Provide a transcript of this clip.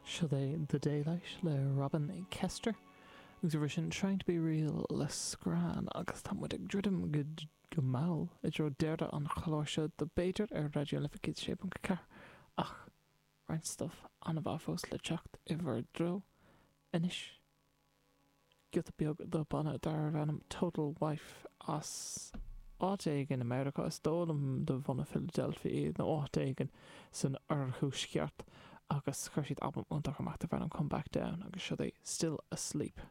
Seo é The Daylight le Robin Kester agus roimhe sin Trying to Be Real le Scran agus tá muid ag druidim go mall i dtreo deireadh an chláir seo de B'fhéidir ar Raidió na Life 106.4 ach roinnt stuif an-mhaith fós le teacht i bhur dtreo anois. Giota beag de banna darbh ainm Total Wife as áit éigin i Meiriceá, is dóigh liom de bhunadh Philadelphia iad nó áit éigin san oirthuaisceart agus chuir siad albam iontach amach darbh ainm Come Back Down agus seo é Still Asleep.